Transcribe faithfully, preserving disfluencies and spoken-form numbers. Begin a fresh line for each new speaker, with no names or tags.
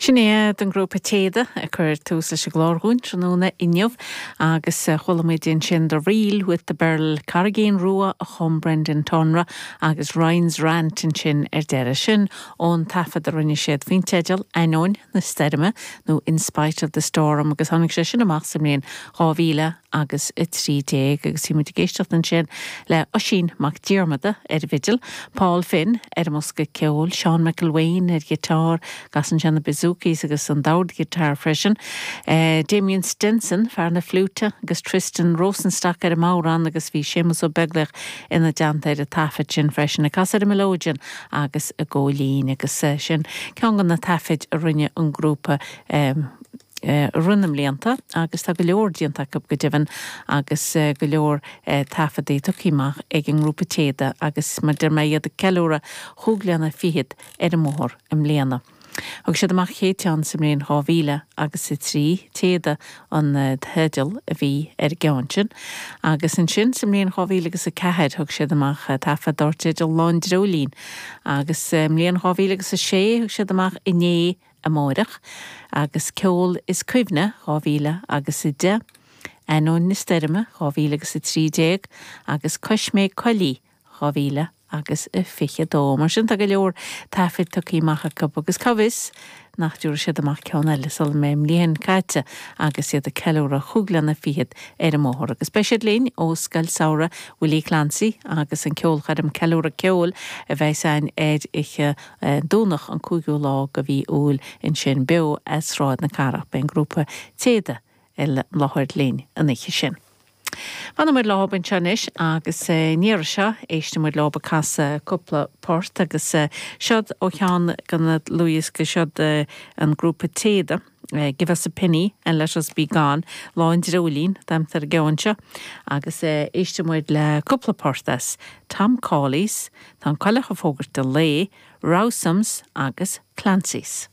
Sin iad an grúpa Téada ag cur tús leis an gclár dhúinn tráthnóna inniu agus chuala muid ansin The Reel with the Birl Carraigín Rua a chum Brendan Tonra agus Ryan's Rant ansin ar deireadh sin ón taifead a rinne siad faoin teideal Ainneoin na Stoirme nó In Spite of the Storm agus tháinig sé sin amach sa mbliain dhá mhíle agus a trí déag agus bhí muid ag éisteacht ansin le Oisín Mac Diarmada ar bhfidil, Paul Finn ar an mbosca ceoil, Seán McElwain ar ghiotár, casann sé na bouzoukis agus an dordghiotár freisin. Uh, Damien Stenson fear na fliúite agus Tristan Rosenstock ar an mbodhrán agus bhí Séamus Ó Beaglaoich ina dteannta ar an taifead sin freisin ag casadh ar an melodeon agus an gcóilín agus uh, sin ceann de na taifid a rinne an grúpa um, rith na mblianta agus tá go leor déanta acu go deimhin agus go leor taifeadtaí tugtha amach ag an ngrúpa Téada agus mar deir mé iad ag ceiliúradh chúig bliana fichead ar an mbóthar i mbliana. Thug siad amach chéad cheann sa mbliain dhá mhíle agus a trí Téada an teideal a bhí ar an gceann sin, agus ansin sa mbliain dhá mhíle agus a ceathair thug siad amach taifead dar teideal Lá an Dreoilín, agus mbliain dhá mhíle agus a sé thug siad amach Inné Amárach agus Ceol is Cuimhne dhá mhíle agus a deich, Ainneoin na Stoirme dhá mhíle agus a trí déag agus Coisméig Coillí dhá mhíle agus a fiche dó. Mar sin tá go leor taifid tugtha amach acu agus cá bhfios nach dtabharfaidh siad amach ceann eile sula mbeidh an bhliain caite agus iad ag ceiliúradh chúig bliana fichead ar an mbóthar. Agus beidh siad linn ó Scoil Samhraidh Willie Clancy agus an ceolchoirm Ceiliúradh Ceoil a bheas ann ar oíche Domhnach an cúigiú lá de mhí Iúil ansin beo as Sráid na Cathrach beidh an grúpa Téada i láthair linn an oíche sin. Fanfaidh muid leo anseo anois agus an iarraidh seo éistfidh muid leo ag casadh cúpla port agus seod ó cheann de na dlúthdhioscaí seod an grúpa Téada. Give us a penny and let us be gone Lá an Dreoilín d'aimtar gean seo agus éistfidh muid le cúpla port as Tom Cawley's, Tá an coileach ag fógairt an lae, Rowsom's agus Clancy's.